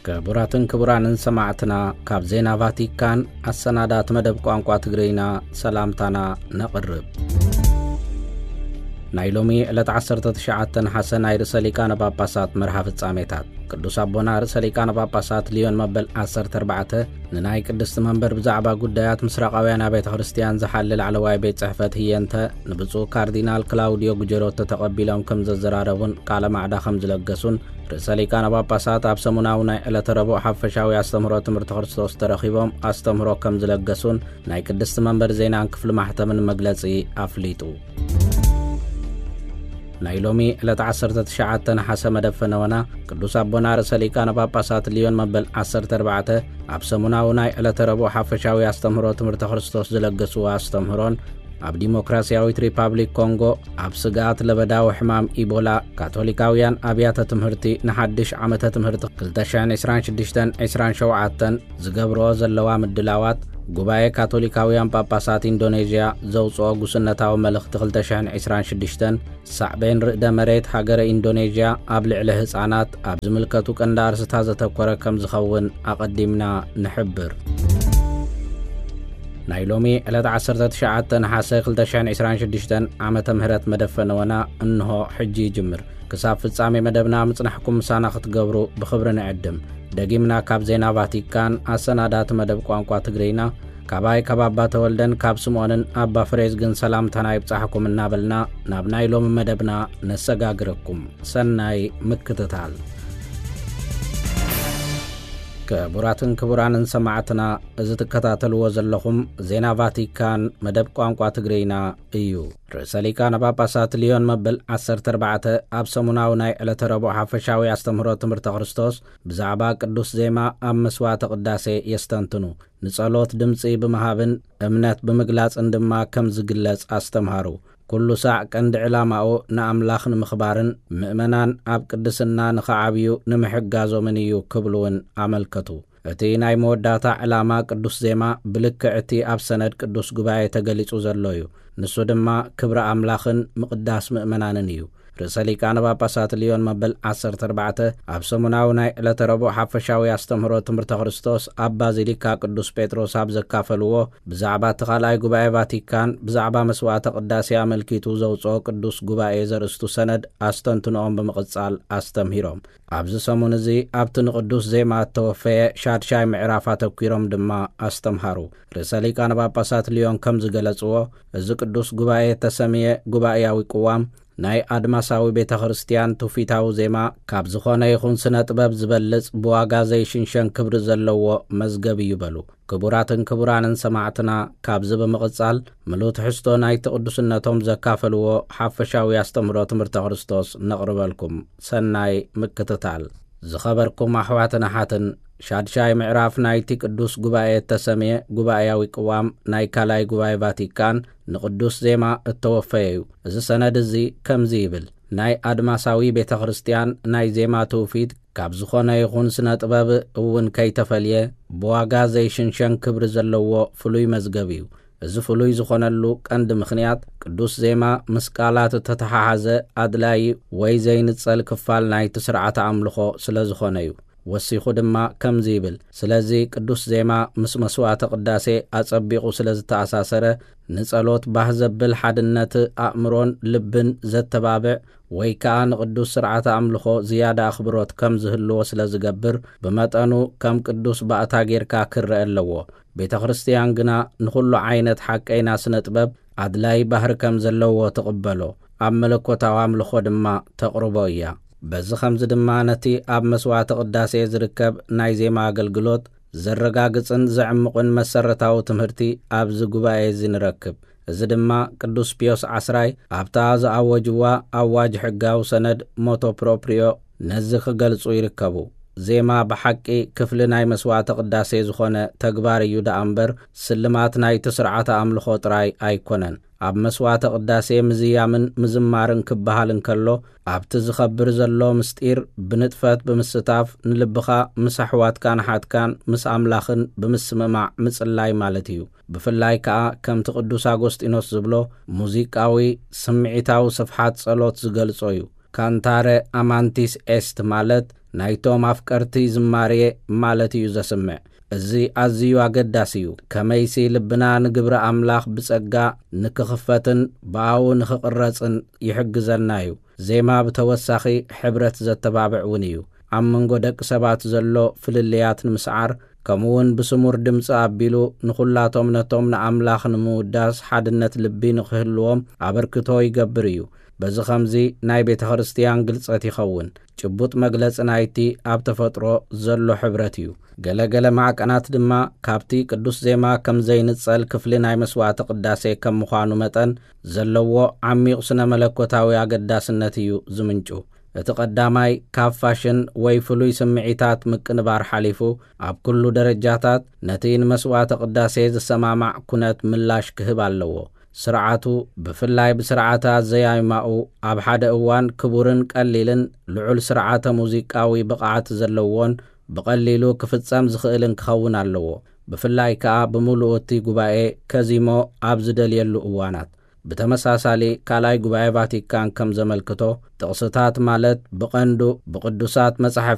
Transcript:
ክቡራትን ክቡራንን ሰማዕትና፣ ካብ ዜና ቫቲካን ኣሰናዳት መደብ ቋንቋ ትግርኛ ሰላምታና ነቕርብ። ናይ ሎሚ ዕለት ዓሰርተ ትሽዓተ ነሓሰ ናይ ርእሰ ሊቃነ ጳጳሳት መርሃ ፍጻሜታት። ቅዱስ ኣቦና ርእሰ ሊቃነ ጳጳሳት ሊዮን መበል ዓሰርተ ኣርባዕተ ንናይ ቅድስቲ መንበር ብዛዕባ ጉዳያት ምስራቃውያን ኣብያተ ክርስቲያን ዝሓሊ ላዕለዋይ ቤት ጽሕፈት ህየንተ ንብፁዕ ካርዲናል ክላውዲዮ ጉጀሮቶ ተቐቢሎም ከም ዘዘራረቡን ቃለ ማዕዳ ከም ዝለገሱን፣ ርእሰ ሊቃነ ጳጳሳት ኣብ ሰሙናዊ ናይ ዕለተ ረቡዕ ሓፈሻዊ ኣስተምህሮ ትምህርቲ ክርስቶስ ተረኺቦም ኣስተምህሮ ከም ዝለገሱን ናይ ቅድስቲ መንበር ዜናን ክፍሊ ማሕተምን መግለጺ ኣፍሊጡ። ናይ ሎሚ ዕለት ዓሰርተ ትሽዓተ ነሓሰ መደብ ፈነወና ቅዱስ ኣቦና ርእሰ ሊቃነ ጳጳሳት ሊዮን መበል ዓሰርተ ኣርባዕተ ኣብ ሰሙናዊ ናይ ዕለተ ረቡዕ ሓፈሻዊ ኣስተምህሮ ትምህርቲ ክርስቶስ ዝለገስዎ ኣስተምህሮን፣ ኣብ ዲሞክራሲያዊት ሪፓብሊክ ኮንጎ ኣብ ስግኣት ለበዳዊ ሕማም ኢቦላ ካቶሊካውያን ኣብያተ ትምህርቲ ንሓድሽ ዓመተ ትምህርቲ ክልተ ሽሕን ዕስራን ሽዱሽተን ዕስራን ሸውዓተን ዝገብርኦ ዘለዋ ምድላዋት፣ ጉባኤ ካቶሊካውያን ጳጳሳት ኢንዶኔዥያ ዘውፅኦ ጉስነታዊ መልእኽቲ ክልተ ሽሕን ዕስራን ሽዱሽተን፣ ሳዕቤን ርእደ መሬት ሃገረ ኢንዶኔዥያ ኣብ ልዕሊ ህፃናት ኣብ ዝምልከቱ ቀንዲ ኣርስታት ዘተኮረ ከም ዝኸውን ኣቐዲምና ንሕብር። ናይ ሎሚ ዕለት ዓሰርተ ትሽዓተ ነሓሰ ክልተ ሽሕን ዕስራን ሽዱሽተን ዓመተ ምህረት መደብ ፈነወና እንሆ ሕጂ ይጅምር። ክሳብ ፍጻሜ መደብና ምጽናሕኩም ምሳና ክትገብሩ ብኽብሪ ንዕድም። ደጊምና ካብ ዜና ቫቲካን ኣሰናዳቲ መደብ ቋንቋ ትግርኛ፣ ካባይ ካብ ኣባ ተወልደን ካብ ስምዖንን ኣባ ፍሬዝግን ሰላምታና ይብጻሕኩም እናበልና ናብ ናይ ሎሚ መደብና ነሰጋግረኩም። ሰናይ ምክትታል። ክቡራትን ክቡራንን ሰማዕትና፣ እዚ ትከታተልዎ ዘለኹም ዜና ቫቲካን መደብ ቋንቋ ትግርኛ እዩ። ርእሰ ሊቃነ ጳጳሳት ሊዮን መበል ዓሰርተ ኣርባዕተ ኣብ ሰሙናዊ ናይ ዕለተ ረቡዕ ሓፈሻዊ ኣስተምህሮ ትምህርተ ክርስቶስ ብዛዕባ ቅዱስ ዜማ ኣብ መስዋዕተ ቅዳሴ የስተንትኑ። ንጸሎት ድምጺ ብምሃብን እምነት ብምግላጽን ድማ ከም ዝግለጽ ኣስተምሃሩ። ኩሉ ሳዕ ቀንዲ ዕላማኡ ንኣምላኽ ንምኽባርን ምእመናን ኣብ ቅድስና ንኽዓብዩ ንምሕጋዞምን እዩ ክብሉ እውን ኣመልከቱ። እቲ ናይ መወዳእታ ዕላማ ቅዱስ ዜማ ብልክዕ እቲ ኣብ ሰነድ ቅዱስ ጉባኤ ተገሊጹ ዘሎ እዩ። ንሱ ድማ ክብሪ ኣምላኽን ምቕዳስ ምእመናንን እዩ። ርእሰ ሊቃነ ጳጳሳት ሊዮን መበል ዓሰርተ ኣርባዕተ ኣብ ሰሙናዊ ናይ ዕለተ ረቡዕ ሓፈሻዊ ኣስተምህሮ ትምህርተ ክርስቶስ ኣብ ባዚሊካ ቅዱስ ጴጥሮስ ኣብ ዘካፈልዎ፣ ብዛዕባ እቲ ካልኣይ ጉባኤ ቫቲካን ብዛዕባ መስዋዕተ ቅዳሴ ኣመልኪቱ ዘውፅኦ ቅዱስ ጉባኤ ዘርእስቱ ሰነድ ኣስተንትንኦም ብምቕጻል ኣስተምሂሮም። ኣብዚ ሰሙን እዚ ኣብቲ ንቅዱስ ዜማ እተወፈየ ሻድሻይ ምዕራፍ ኣተኲሮም ድማ ኣስተምሃሩ። ርእሰ ሊቃነ ጳጳሳት ሊዮን ከም ዝገለጽዎ፣ እዚ ቅዱስ ጉባኤ እተሰምየ ጉባኤያዊ ቅዋም ናይ ኣድማሳዊ ቤተ ክርስቲያን ትውፊታዊ ዜማ ካብ ዝኾነ ይኹን ስነ ጥበብ ዝበልጽ ብዋጋ ዘይሽንሸን ክብሪ ዘለዎ መዝገብ እዩ በሉ። ክቡራትን ክቡራንን ሰማዕትና፣ ካብዚ ብምቕጻል ምሉእ ትሕዝቶ ናይቲ ቅዱስነቶም ዘካፈልዎ ሓፈሻዊ ኣስተምህሮ ትምህርተ ክርስቶስ ነቕርበልኩም። ሰናይ ምክትታል። ዝኸበርኩም ኣሕዋትን ኣሓትን፣ ሻድሻይ ምዕራፍ ናይቲ ቅዱስ ጉባኤ እተሰምየ ጉባኤያዊ ቅዋም ናይ ካልኣይ ጉባኤ ቫቲካን ንቅዱስ ዜማ እተወፈየ እዩ። እዚ ሰነድ እዚ ከምዚ ይብል፣ ናይ ኣድማሳዊ ቤተ ክርስቲያን ናይ ዜማ ትውፊት ካብ ዝኾነ ይኹን ስነ ጥበብ እውን ከይተፈልየ ብዋጋ ዘይሽንሸን ክብሪ ዘለዎ ፍሉይ መዝገብ እዩ። እዚ ፍሉይ ዝኾነሉ ቀንዲ ምኽንያት ቅዱስ ዜማ ምስ ቃላት እተተሓሓዘ ኣድላዪ ወይ ዘይንጸል ክፋል ናይቲ ስርዓተ ኣምልኾ ስለ ዝኾነ እዩ። ወሲኹ ድማ ከምዚ ይብል፣ ስለዚ ቅዱስ ዜማ ምስ መስዋዕተ ቅዳሴ ኣጸቢቑ ስለ ዝተኣሳሰረ፣ ንጸሎት ባህ ዘብል ሓድነት ኣእምሮን ልብን ዘተባብዕ ወይ ከኣ ንቅዱስ ስርዓተ ኣምልኾ ዝያዳ ኣኽብሮት ከም ዝህልዎ ስለ ዝገብር፣ ብመጠኑ ከም ቅዱስ ባእታ ጌርካ ክረአ ኣለዎ። ቤተ ክርስቲያን ግና ንኹሉ ዓይነት ሓቀይና ስነ ጥበብ ኣድላይ ባህሪ ከም ዘለዎ ትቕበሎ፣ ኣብ መለኮታዊ ኣምልኾ ድማ ተቕርቦ እያ። በዚ ኸምዚ ድማ ነቲ ኣብ መስዋዕተ ቅዳሴ ዝርከብ ናይ ዜማ ኣገልግሎት ዘረጋግጽን ዘዕምቕን መሰረታዊ ትምህርቲ ኣብዚ ጉባኤ እዚ ንረክብ። እዚ ድማ ቅዱስ ፒዮስ ዓስራይ ኣብታ ዝኣወጅዋ ኣዋጅ ሕጋዊ ሰነድ ሞቶ ፕሮፕሪዮ ነዚ ክገልጹ ይርከቡ። ዜማ ብሓቂ ክፍሊ ናይ መስዋዕተ ቅዳሴ ዝኾነ ተግባር እዩ ደኣ እምበር፣ ስልማት ናይቲ ስርዓተ ኣምልኾ ጥራይ ኣይኮነን። ኣብ መስዋዕተ ቅዳሴ ምዝያምን ምዝማርን ክበሃል እንከሎ፣ ኣብቲ ዝኸብር ዘሎ ምስጢር ብንጥፈት ብምስታፍ ንልብኻ ምስ ኣሕዋትካን ኣሓትካን ምስ ኣምላኽን ብምስምማዕ ምጽላይ ማለት እዩ። ብፍላይ ከኣ ከምቲ ቅዱስ ኣጎስጢኖስ ዝብሎ፣ ሙዚቃዊ ስምዒታዊ ስፍሓት ጸሎት ዝገልጾ እዩ። ካንታረ ኣማንቲስ ኤስት ማለት ናይቶም ኣፍቀርቲ ዝማሬ ማለት እዩ ዘስምዕ። እዚ ኣዝዩ ኣገዳሲ እዩ። ከመይሲ ልብና ንግብሪ ኣምላኽ ብጸጋ ንክኽፈትን ብኣኡ ንኽቕረጽን ይሕግዘና እዩ። ዜማ ብተወሳኺ ሕብረት ዘተባብዕ እውን እዩ። ኣብ መንጎ ደቂ ሰባት ዘሎ ፍልልያት ንምስዓር፣ ከምኡውን ብስሙር ድምፂ ኣቢሉ ንኹላቶም ነቶም ንኣምላኽ ንምውዳስ ሓድነት ልቢ ንኽህልዎም ኣበርክቶ ይገብር እዩ። በዚ ኸምዚ ናይ ቤተ ክርስቲያን ግልጸት ይኸውን። ጭቡጥ መግለጺ ናይቲ ኣብ ተፈጥሮ ዘሎ ሕብረት እዩ። ገለ ገለ ማዕቀናት ድማ ካብቲ ቅዱስ ዜማ ከም ዘይንጸል ክፍሊ ናይ መስዋዕተ ቅዳሴ ከም ምዃኑ መጠን ዘለዎ ዓሚቕ ስነ መለኮታዊ ኣገዳስነት እዩ ዝምንጩ። እቲ ቀዳማይ ካብ ፋሽን ወይ ፍሉይ ስምዒታት ምቅንባር ሓሊፉ፣ ኣብ ኩሉ ደረጃታት ነቲ ንመስዋዕተ ቅዳሴ ዝሰማማዕ ኩነት ምላሽ ክህብ ኣለዎ። ስርዓቱ፣ ብፍላይ ብስርዓተ ኣዘያይማኡ፣ ኣብ ሓደ እዋን ክቡርን ቀሊልን ልዑል ስርዓተ ሙዚቃዊ ብቕዓት ዘለዎን ብቐሊሉ ክፍጸም ዝኽእልን ክኸውን ኣለዎ። ብፍላይ ከኣ ብምሉኡ እቲ ጉባኤ ከዚሞ ኣብ ዝደልየሉ እዋናት። ብተመሳሳሊ ካልኣይ ጉባኤ ቫቲካን ከም ዘመልክቶ፣ ጥቕስታት ማለት ብቐንዱ ብቅዱሳት መጻሕፍቲ